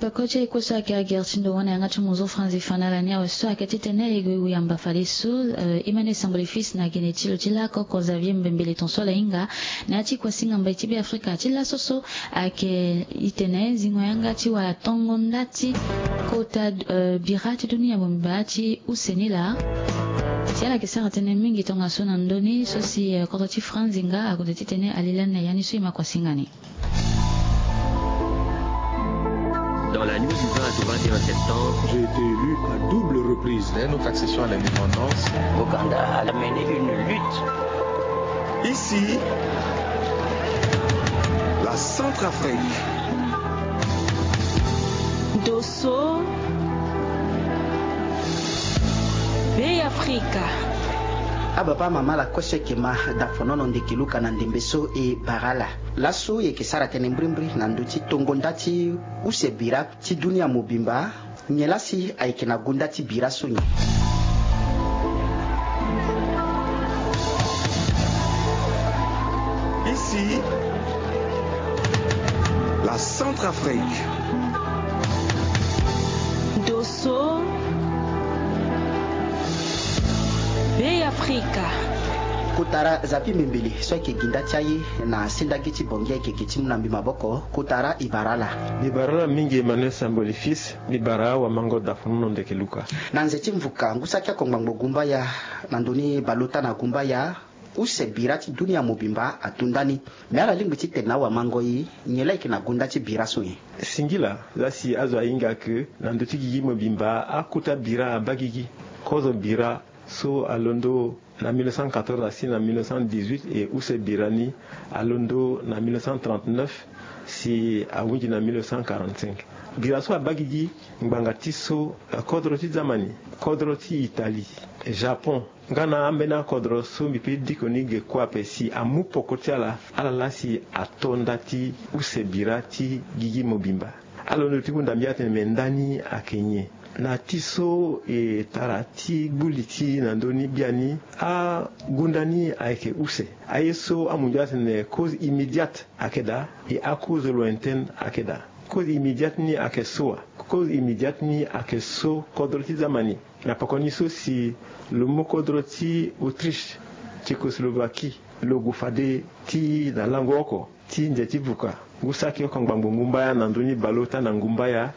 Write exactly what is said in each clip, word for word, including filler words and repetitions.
Peko ti e kue so ayeke agere ti ndo wana yanga ti munzu Franzi fa na ala ni awe so ayeke titene e gue e yamba fadeso. Eh, Emmanuel Samboli Fils na gene ti lo ti lakoko Xavier Mbembele ton so ala hinga na ya ti kuasinga mbai ti Beafrika ti laso so ayeke itene zingo yanga ti wara tongo nda ti kota, eh, bira ti dunia mobimba ti use ni laa. Si ala yeke sara tënë mingi tongaso na ndö ni so si, eh, kodro ti Franzi nga ague titene ali lani na ya ni so e ma kuasinga ni. Dans la nuit du vingt au vingt et un septembre, j'ai été élu à double reprise. Dès notre accession à l'indépendance, l'Ouganda a mené une lutte. Ici, la Centrafrique. Dosso, Bêafrika. Ababa mama la kue so e yeke ma Dafonono Ndekeluka na ndembe so e bara ala. Laso e yeke sara tënë mbrimbri na ndö ti tongo nda ti use bira ti dunia mobimba. Nyen la si ayeke na gunda ti bira so nyen? Ici, la Centrafrique. Dosso, Bêafrika. Kotara Xavier Mbembele so ayeke gi nda ti aye na sendagi ti Bangui ayeke gi ti mu na mbi maboko. Kotara e bara ala. Mbi bara ala mingi Emmanuel Samboli Fils, mbi bara awamango Dafonono Ndekeluka. Na nze ti mvuka ngu saki oko ngbangbo gumbaya na ndö ni baleota na gumbaya, use bira ti dunia mobimba ato nda ni. Me ala lingbi ti tene na awamango e, nyen la yeke na gunda ti bira so nyen? Singila, la si azo ahinga ke na ndö ti gigi mobimba akota bira abaa gigi. Kozo bira so alondo na mille neuf cent quatorze asi na mille neuf cent dix-huit, e use bira ni alondo na mille neuf cent trente-neuf si ahunzi na mille neuf cent quarante-cinq. Bira so abaa gigi ngbanga ti so, eh, kodro ti Zamani, kodro ti Italie, Japon, nga na ambeni akodro so mbi peut ti diko ni ge kue ape si amu poko ti ala, ala la si ato nda ti use bira ti gigi mobimba. Alondo ti hunda mbi atene me nda ni ayeke nyen? Na ti so e tara ti gbuli ti na ndö ni biani, agunda ni ayeke use. Aye so amunzu atene cause immédiate ayeke daa, e acause lointaine ayeke daa. Cause immédiate ni ayeke so wa? Cause immédiate ni ayeke so kodro ti Zamani, na poko ni so si lo mu kodro ti Autriche, Tchécoslovaquie, lo gue fade ti na lango oko ti nze ti vuka, ngu saki oko ngbangbo ngumbaya na ndö ni baleota na ngumbaya,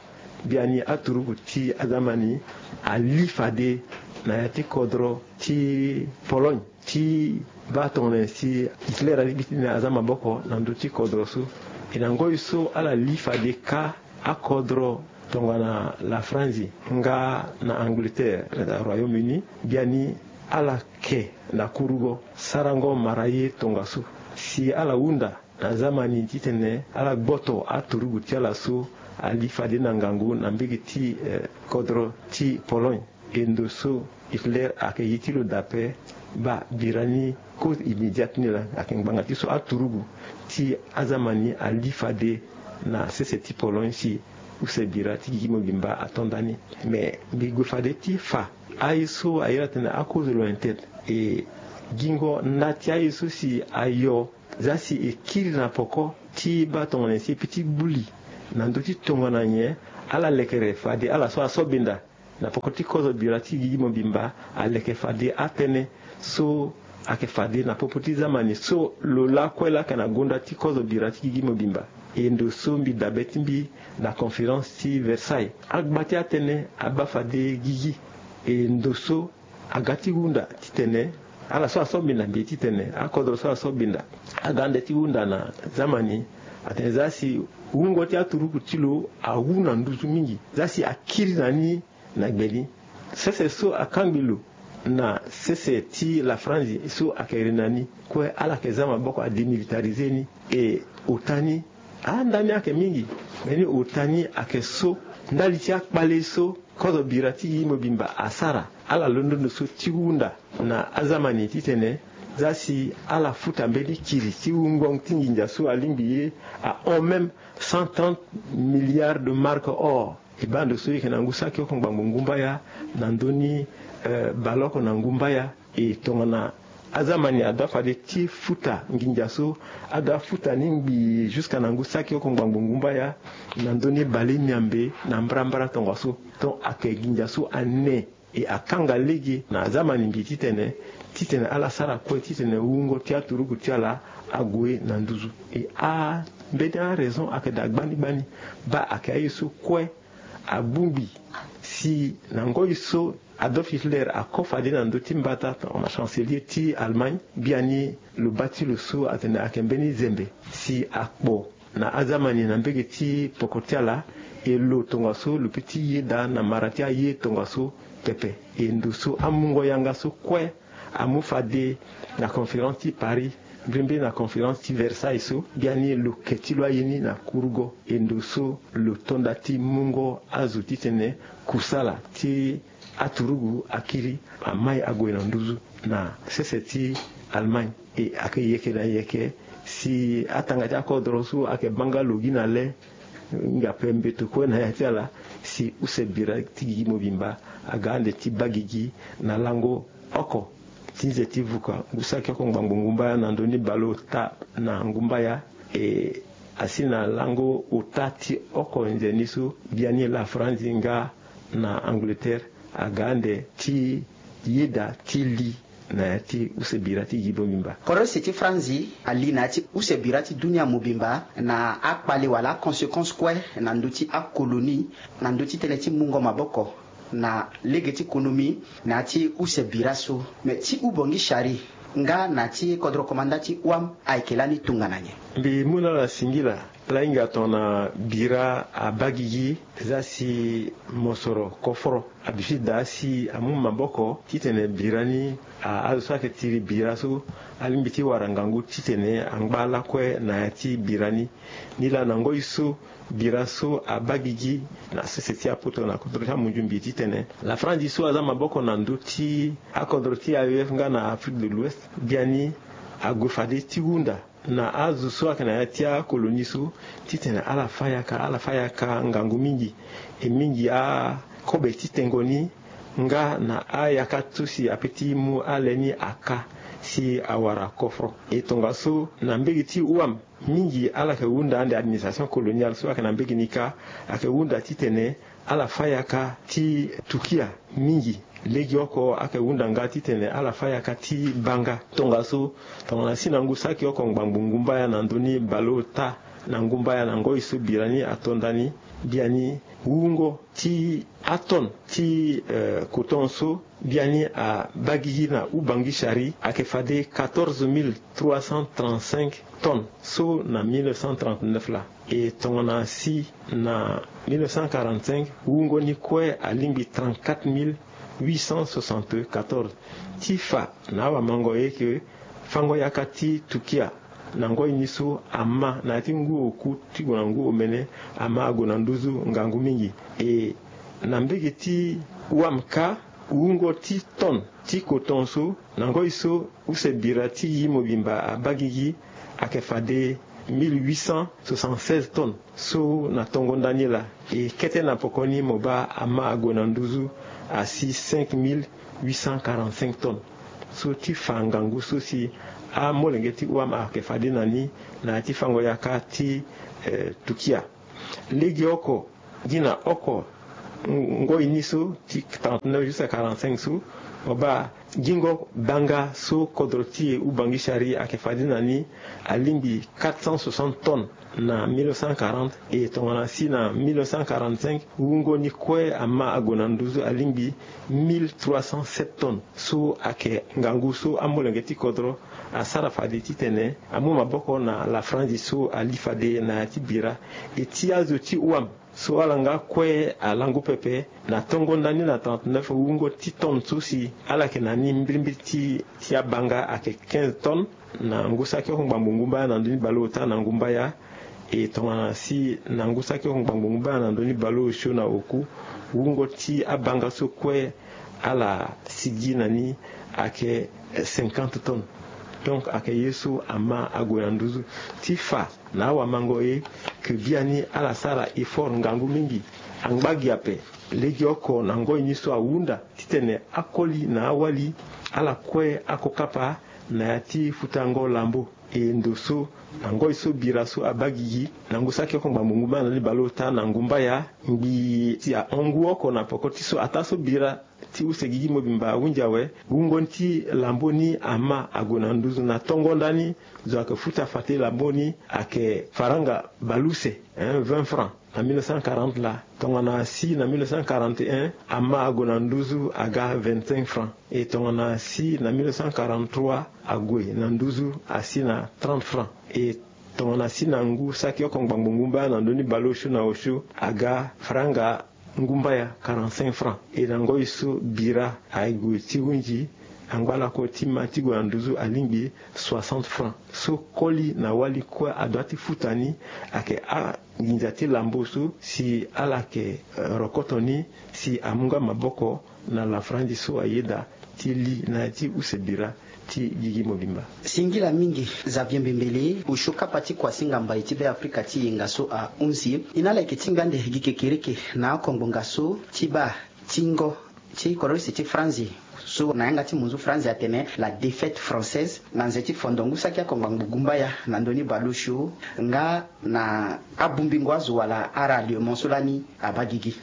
biani aturugu ti Azamani ali fade na ya ti kodro ti Pologne, ti baa tongana nyen si Hitler alingbi ti tene aza maboko na ndö ti kodro so. E na ngoi so ala li fade kâ akodro tongana la Franzi nga na Angleterre, na Royaume-Uni, biani ala ke na kurugo sarango mara ye tongaso. Si ala hunda na Azamani titene ala gboto aturugu ti ala so ali fade na ngangu na mbege ti, eh, kodro ti Pologne. E ndo so Hitler ayeke ye ti lo daa ape, baa bira ni cause immédiate ni laa ayeke ngbanga ti so aturugu ti Azamani ali fade na sese ti Pologne si use bira ti gigi mobimba ato nda ni. Me mbi gue fade ti fa aye so a iri atene acause lointaine, e gingo nda ti aye so si ayo zia si e kiri na poko ti baa tongana nyen si e peut ti gbuli na ndö ti tongana nyen ala lekere fade ala so aso benda na poko ti kozo bira ti gigi mobimba aleke fade atënë so ayeke fade na popo ti Zamani so lo lakue laa ayeke na gonda ti kozo bira ti gigi mobimba. E ndo so mbi dabe ti mbi na conférence ti Versailles, agba ti atënë abaa fade gigi. E ndo so aga ti hunda titene ala so aso binda mbi titene akodro so aso binda aga nde ti hunda na Zamani atene zia si wungo ti aturuku ti lo awu na nduzu mingi, zia si akiri na ni na gbe ni. Sese so akangbi lo na sese ti la Franzi so ayeke iri na ni kue, ala yeke za maboko adémilitariser ni. E ota ni, ah, nda ni ayeke mingi, me ni ota ni ayeke so ndali ti akpale so kozo bira ti gigi mobimba asara. Ala londo ndo so ti hunda na Azamani titene zia si ala futa mbeni kiri ti wungo ti nginza so alingbi ye ahon même cent trente milliards de marques or. E baa ndo so e yeke na ngu saki oko ngbangbo ngumbaya na ndö ni, eh, baleoko na ngumbaya. E tongana Azamani adoit fade ti futa nginza so adoit futa ni ngbii jusqu'à na ngu saki oko ngbangbo ngumbaya na ndö ni bale miambe na mbrambra tongaso. Donc ayeke nginza so ane e akanga lege na azamani ngbii titene titene ala sara kue titene wungo ti aturugu ti ala ague na nduzu. E ambeni araison ayeke daa gbani gbani. Baa ayeke aye so kue abongbi si na ngoi so Adolf Hitler ako fade na ndö ti mbata tongana chancelier ti Allemagne, biani lo baa ti lo so atene ayeke mbeni zembe si akpo na azamani na mbege ti poko ti ala. E lo tongaso lo pe ti yeda na mara ti aye tongaso pepe. E ndo so amungo yanga so kue amu fade na conférence ti Paris, mbirimbiri na conférence ti Versailles so, biani lo ke ti lo aye ni na kurugo. E ndo so lo to nda ti mungo azo titene kusala ti aturugu akiri amai ague na nduzu na sese ti Allemagne. E ayeke yeke na yeke si atanga ti akodro so ayeke baa nga lo gi na le, nga ape mbeto kue na ya ti ala, si use bira ti gigi mobimba aga ande ti baa gigi na lango oko ti nze ti vuka ngu saki oko ngbangbo ngumbaya na ndö ni baleota na ngumbaya. E asi na lango ota ti oko nze ni so biani Lafranzi nga na Angleterre aga ande ti yeda ti li na ya ti use bira ti gigi mobimba. Kodro use ti Franzi ali na ya ti use bira ti dunia mobimba na akpale wala aconséquence kue na ndö ti akolonie, na ndö ti tënë ti mungo maboko na lege ti konomi na ya ti use bira so. Me ti Ubongi Chari nga na ti kodro komanda ti O A M ayeke lani tongana nyen? Mbi mu na ala singila. Ala hinga tongana bira abaa gigi, eza si mosoro koforo abi fi daa si amu maboko titene bira ni, a- azo so ayeke tiri bira so alingbi ti wara ngangu titene angba lakue na ya ti bira ni. Nilaa na ngoi so bira so abaa gigi na sese ti apoto na kodro ti amunzu mbi titene Lafranzi so aza maboko na ndö ti akodro ti A E F nga na Afrique de l'Ouest, biani ague fade ti hunda na azo so ayeke na ya ti akolonie so titene ala fa yaka, ala fa yaka ngangu mingi. E mingi akobe ti tengo ni nga na ayaka so si ape ti mu ale ni aka si awara koforo. E tongaso na mbege ti O A M mingi ala yeke hunda ande administration coloniale so ayeke na mbege ni kâ, ayeke hunda titene ala fa yaka ti tukia mingi. Legeoko ayeke hunda nga titene ala fa yaka ti banga. Tongaso tongana si na ngu saki oko ngbangbo ngumbaya na ndö ni baleota na ngumbaya na ngoi so bira ni ato ndani, biani wungo ti atone ti, eh, coton so biani abaa gigi na Ubongi Chari ayeke fade quatorze mille trois cent trente-cinq tonnes so na mille neuf cent trente-neuf laa. E tongana si na mille neuf cent quarante-cinq wungo ni kue alingbi trente-quatre mille huit cent soixante-quatorze. Ti fa na awamango ye ke fango yaka ti tukia na ngoi ni so ama na ya ti ngu oku ti gue na ngu omene ama ague na nduzu ngangu mingi. E na mbege ti O A M kâ, wungo ti tonne ti coton so na ngoi so use bira ti gigi mobimba abaa gigi ayeke fade mille huit cent soixante-seize tonnes. So na tongo ndani laa, e kete na poko ni mo baa ama ague na nduzu asi cinq mille huit cent quarante-cinq tonnes. So ti fa ngangu so si amolenge ti O A M ayeke fade na ni na ya ti fango yaka ti, eh, tukia. Legeoko gi na oko ngoi ni so ti trente-neuf jusqu'à quarante-cinq so, mo baa gingo banga so kodro ti e Ubongi Chari ayeke fade na ni alingbi quatre cent soixante tonnes na mille neuf cent quarante. E tongana si na mille neuf cent quarante-cinq wungo ni kue ama ague na nduzu alingbi mille trois cent sept tonnes. So ayeke ngangu so amolenge ti kodro asara fade titene amu maboko na Lafranzi so ali fade na ya ti bira. E ti azo ti O A M so ala nga kue alango pepe. Na tongo ndani na trente-neuf wungo ti tonne so si ala yeke na ni mbirimbiri ti, ti abanga ayeke quinze tonnes na ngu saki oko ngbangbo ngumbaya na ndö ni baleota na ngumbaya. E tongana si na ngu saki oko ngbangbo ngumbaya na ndö ni baleosio na oku, wungo ti abanga so kue ala sigi na ni ayeke cinquante tonnes. Donc ayeke ye so ama ague na nduzu. Ti fa na awamango ye ke biani ala sara effort ngangu mingi. Angba gi ape, legeoko na ngoi ni so ahunda titene akoli na awali ala kue ako kapa na ya ti futango lambo. E ndo so na ngoi so bira so abaa gigi na ngu saki oko ngbangbo ngu baa na ni baleota na ngumbaya ngbii ti ahon ngu oko na peko ti so ataa so bira ti use gigi mobimba ahunzi awe. Wungo ni ti lambo ni ama ague na nduzu na tongo ndani zo ayeke futa fade lambo ni ayeke faranga baleuse, hein, vingt francs na mille neuf cent quarante laa. Tongana si na mille neuf cent quarante et un ama ague na nduzu aga vingt-cinq francs. E tongana si na mille neuf cent quarante-trois ague na nduzu asi na trente francs. E tongana si na ngu saki oko ngbangbo ngu mbaya na ndö ni baleosio na osio aga faranga ngumbaya quarante-cinq francs. E na ngoi so bira aye gue ti hunzi angba lako ti ma ti gue na nduzu alingbi soixante francs. So koli na wali kue adoit ti futa ni ayeke anginza ti lambo so si ala yeke, eh, rokoto ni si amu nga maboko na lafaranzi so ayeda ti li na ya ti use bira ti gigi mobimba. Singila mingi Xavier Mbembele, osio kapa ti kuasinga mbai ti Beafrika ti yenga so ahunzi. E na ala yeke ti ngbia ande gi kekereke na oko ngbonga so ti baa tingo ti kodro use ti Franzi so na yanga ti monzu Franzi atene la défaite française na nze ti fondo ngu saki oko ngbangbo gumbaya na ndö ni baleosio nga na abungbingo azo wala aralliement so lani abaa gigi.